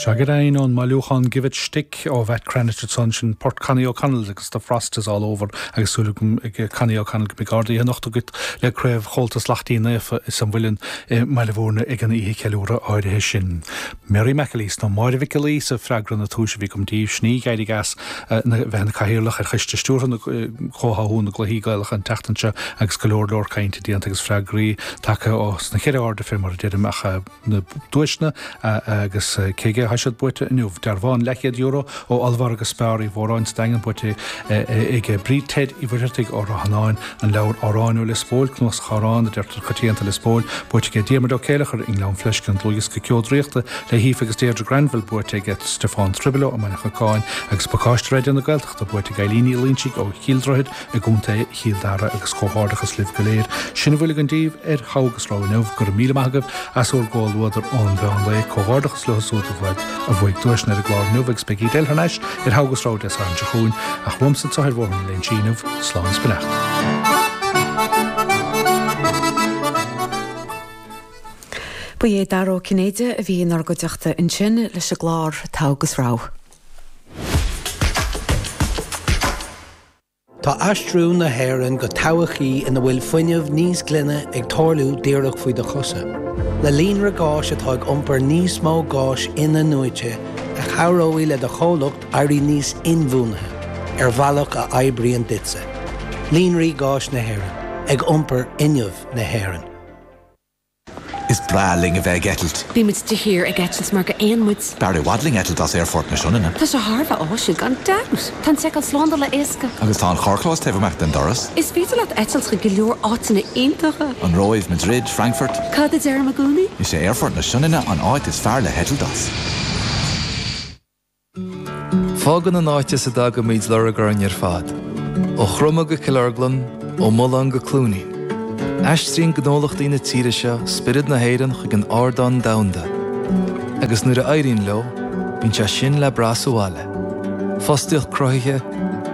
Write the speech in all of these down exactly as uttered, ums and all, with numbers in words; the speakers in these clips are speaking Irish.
Sea go deimhin ón mbailiúchán Give It Shtick ó Mhatt Cranitch ansan sin port Connie O'Connell agus The Frost is All Over agus súil agam ag Connie O'Connell go mbeidh ardaithe anocht agat le craobh Chomhaltas Lachtaín Naofa is an Mhuileann i mBaile Bhúirne ag an oíche cheiliúradh áirithe sin. Mary McAleese nó Máire Mhic Giolla Íosa freagra na tomhaise a bhí agam daoibh sin í a d'éirigh as bheith ina cathaoirleach ar choiste stiúrtha na comhtháthú na gcluichí Gaelacha an tseachtain seo agus go leor leor cainte déanta agus freagraí tagtha ó sna ceithre airde fé mar a deirim ach na duaiseanna agus cé aige atá siad buaite inniu. Dearbhán leathchéad euro ó Ollmhargadh Spar Uí Mhóráin sa Daingean buaite ag Bríd Ted Uí Mhuircheartaigh ó Ráth Fhionáin, an leabhar Amhráin ó Lios Póil, cnuasach amhrán a deirtear coitianta Lios Póil, buaite aige Diarmuid Ó Céileachair i nGleann Fleisce, an dlúthdhiosca Ceo Draíochta le hAoife agus Deirdre Granville buaite aige Stiofán Tribillo i mBaile Chocáin agus pacáiste Raidió na Gaeltachta buaite ag Eileen Ní Loinsigh ó Chill Droichid i gContae Chill Dara agus comhghairdeachas libh go léir. Sin a bhfuil againn daoibh ar Thogh agus Rogha inniu, go raibh míle maith agaibh as bhur gcomhluadar ón mheán lae, comhghairdeachas leo siúd a bhuaigh a bhuaigh duaiseanna ar an gclár inniu agus beidh iad eile thar n-ais ar Thogh agus Rogha Dé Sathairn seo chugainn ach uaimse anseo ar Bhóthar na Léinsí inniu, slán is beannacht. Ba é Dara Ó Cinnéide a bhí inár gcuideachta ansin leis an gclár Togh agus Rogha. Tá aistriú na hÉireann go todhchaí ina bhfuil fuinneamh níos glaine ag tarlú díreach faoi do chosa. Le líonra gáis atá ag iompar níos mó gáis in-athnuaite a chabhróidh le do chomhlacht éirí níos inbhuanaithe ar bhealach a oibríonn duitse. Líonraí gáis na hÉireann, ag iompar fhuinneamh na hÉireann. Is breá linn a bheith ag eitilt. Bímid de shíor ag eitilt mar gur éin muid. B'fhearr i bhfad linn eitilt as Aerfort na Sionainne. Tá sé thar a bheith áisiúil gan dabht. Tá an tseiceáil slándála éasca. Agus tá an carrchlós taobh amuigh den doras. Is féidir leat eitilt chuig go leor áiteanna iontacha. An Róimh, Madrid, Frankfurt. Cad a deirim i gcónaí? Is é Aerfort na Sionainne an áit is fearr le heitilt as. Fágann an áit as a dtagaimid lorg orainn ar fad. Ó Chroma go Cill Orglan, ó Mullán go Cluainín. Aistríonn gnólachtaí na tíre seo spiorad na hÉireann chuig an ardán domhanda. Agus nuair a éiríonn leo, bíonn sé sin le brath sa bhaile. Fostaíocht cruthaithe,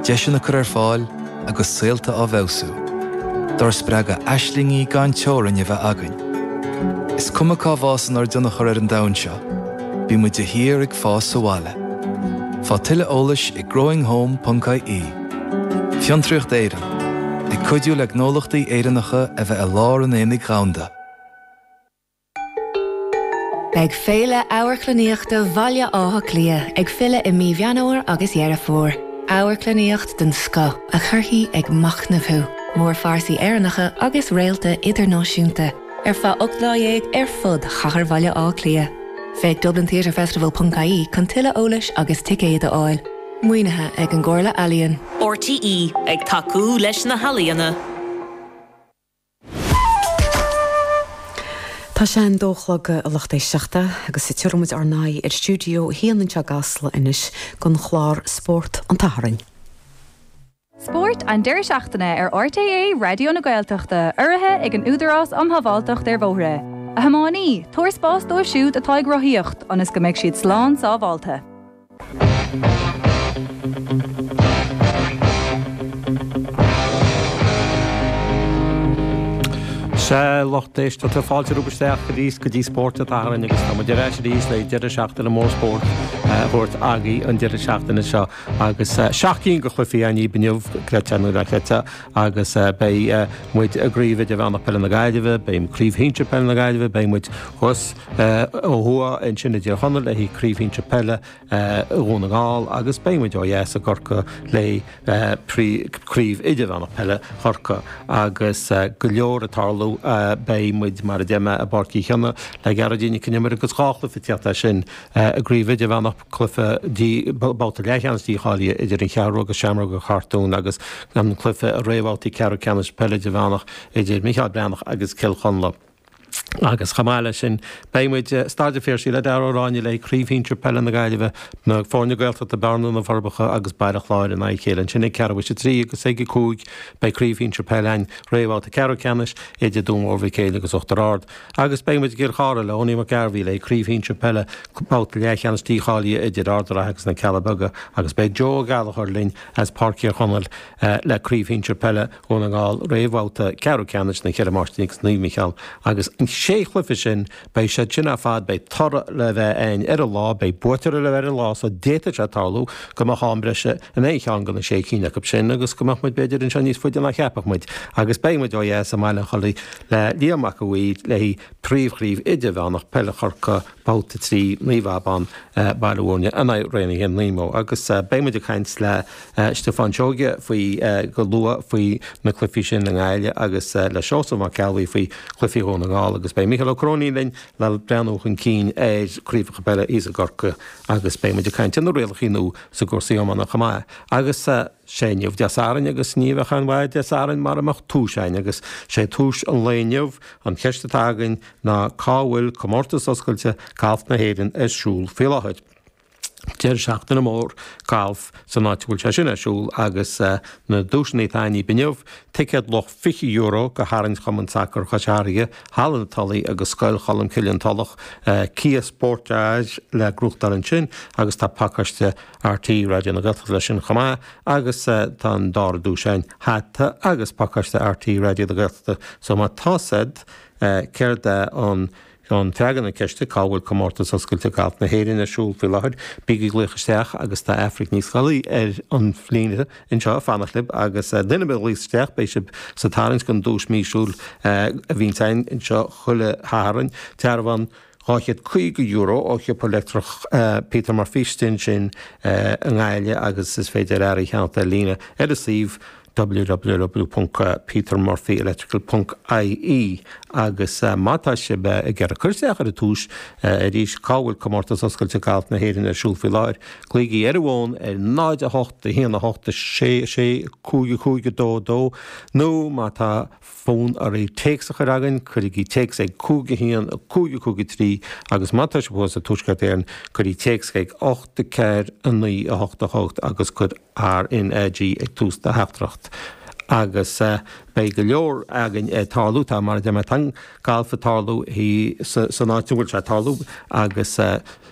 deiseanna curtha ar fáil agus saolta á bhfeabhsú. Dár spreagadh aislingí gan teorainn a bheith againn. Is cuma cá bhfásann ár dtionchar ar an domhan seo, bíonn muid de shíor ag fás sa bhaile. Faigh tuilleadh eolais ag growinghome.ie. Fiontraíocht Éireann, ag cuidiú le gnólachtaí Éireannacha a bheith i lár an aonaigh dhomhanda. Beidh Féile Amharclannaíochta Bhaile Átha Cliath ag filleadh i mí Mheán Fómhair agus Dheireadh Fómhair. Amharclannaíocht den scoth a chuirfidh ag machnamh thú, mórphearsaí Éireannacha agus réalta idirnáisiúnta ar feadh ocht lá dhéag ar fud chathair Bhaile Átha Cliath. Féach Dublin Theatre Festival.ie chun tuilleadh eolais agus ticéid a fháil. Maoinithe ag an gComhairle Ealaíon. RTÉ ag tacú leis na healaíona. Tá sé an dó a chlog a lucht éisteachta agus tabharfaimid ár n-aghaidh ar stiúideo a haon anseo i gCasla anois don chlár Spórt an tSathairn. Spórt an deireadh seachtaine ar RTÉ Raidió na Gaeltachta, urraithe ag an Údarás um Shábháilteacht ar Bhóithre. A thiománaí, tabhair spás dóibh siúd atá ag rothaíocht, ionas go mbeidh siad slán sábháilte. Sea, lucht éisteachta, fáilte romhaibh isteach arís go dtí Spórt an tSathairn agus tá muid ar ais arís le deireadh seachtaine mór spóirt a thabhairt agaibh an deireadh seachtaine seo agus seacht gcinn de chluichí againn inniu, creidte nó ná creidte, agus beidh muid i gCraobh Idirmheánach Peile na Gaillimhe, beidh Craobh Shinsir Peile na Gaillimhe, beidh muid thuas ó thuaidh ansin i dTír Chonaill le haghaidh Craobh Shinsir Peile Dhún na nGall agus beidh muid ó dheas i gCorcaigh le Craobh Idirmheánach Peile Chorcaí agus go leor ag tarlú. Beidh muid, mar a deir mé, i bPáirc Uí Chionnaith le Gearóidín Nic Con Iomaire agus dhá chluiche ag tíocht as sin i gCraobh Idirmheánach, cluiche babhta leathcheannais dícháilithe idir an Cheathrú agus Seamróga an Chartúin agus an cluiche i réamhbhabhtaí ceathrú ceannais peile idirmheánach idir Micheál Breathnach agus Cill Chonla. Agus chomh maith leis sin, beidh muid i Staid an Phiarsaigh le Dara Ó Ráinne le Craobh Shinsir Peile na Gaillimhe, na foirne Gaeltachta Bearna, Na Forbacha agus Baile Chláir in aghaidh a chéile ansin ag ceathrú théis a trí agus ag a cúig beidh Craobh Shinsir Peile againn, réamhbhabhta ceathrú ceannais idir Dún Mór Mhic Éil agus Uachtar Ard. Agus beidh muid i gCill Chartha le Owenie McGarvey le Craobh Shinsir Peile, babhta leathcheannais dícháilithe idir Ard an Rátha agus Na Cealla Beaga agus beidh Joe Ó Gallchóir linn as Páirc Thír Chonaill le Craobh Shinsir Peile Dhún na nGall, réamhbhabhta ceathrú ceannais na Ceithre Máistrí agus Naomh Micheál agus an sé chluiche sin beidh sé sin ar fad beidh toradh le bheith ann ar an lá, beidh buaiteoir le bheith ar an lá so d'fhéadfadh sé tarlú go mbeadh am breise in aon cheann de na sé cinn acu sin agus go mbeadh muid b'fhéidir anseo níos faide ná cheapfadh muid agus beidh muid ó dheas i mBaile an Chollaigh le Liam Mac a' Mhaoir le príomhchraobh idirmheánach peile Chorcaí babhta trí Naomh Abán Baile Bhúirne in aghaidh Raonaithe Nemo agus beidh muid ag caint le Stiofán Seoige faoi go luath faoi na cluichí sin i nGaillimh agus le Seosamh Mac Ceallaigh faoi chluichí Dhún na nGall agus beidh Micheál Ó Cróinín linn le breathnú chun cinn ar chraobhacha peile thíos i gCorcaigh agus beidh muid ag caint ar na rialacha nua sa gcúrsaí iomána chomh maith agus sé inniu Dé Sathairn agus ní bheadh aon mhaith Dé Sathairn mara mbeadh tomhas againn agus sé tomhas an lae inniu an cheist atá againn ná cá bhfuil comórtas oscailte galf na hÉireann ar siúl faoi láthair. Deireadh seachtaine mór galf san áit bhfuil sé sin ar siúl agus uh, na duaiseanna atá againn inniu, ticéad luach fiche euro go tharraingt Chumann Sacair Chois Fharraige, Halla na Tulaí agus Scoil Cholmcille an Tulach, uh, Kia Sportage le gnóthachtáil ansin agus tá pacáiste RTÉ Raidió na Gaeltachta leis sin chomh maith agus uh, tá an dara duais sin hata agus pacáiste RTÉ Raidió na Gaeltachta so má tá siad uh, céard é an an freagra na ceiste cá bhfuil comórtas oscailte galf na hÉireann ar siúl faoi láthair bígí ag glaoch isteach agus tá Aifric Ní Scolaí ar an líne anseo fanacht libh agus duine a ghlaos isteach beidh sibh sa tarraingt don duais míosúil a bhíonn anseo chuile Shatharn dearbhán dhá chéad caoga euro ó shiopa leictreach Peter Murphy sin i nGaillimh agus is féidir earraí a cheannach ar líne ar a suíomh www.petermurphyelectrical.ie agus uh, má tá sibh ag iarraidh cur isteach ar an tomhas uh, arís cá bhfuil comórtas oscailte galf na hÉireann ar siúl faoi láthair. Glaoigí ar an bhfón ar náid a hocht a haon a hocht sé sé cúig cúig dó dó nó má tá fonn oraibh téacs a chur chugainn cuirigí téacs ag cúig haon cúig cúig trí agus má tá sibh sa Tuaisceart Éireann cuirigí téacs ag ocht ceathair a naoi a hocht a hocht agus cuir RNAG ag tús do theachtaireacht. agus uh, beidh go leor againn uh, tarlú tá mar de tan galf tarlú san áit bhfuil sé tarlú agus uh,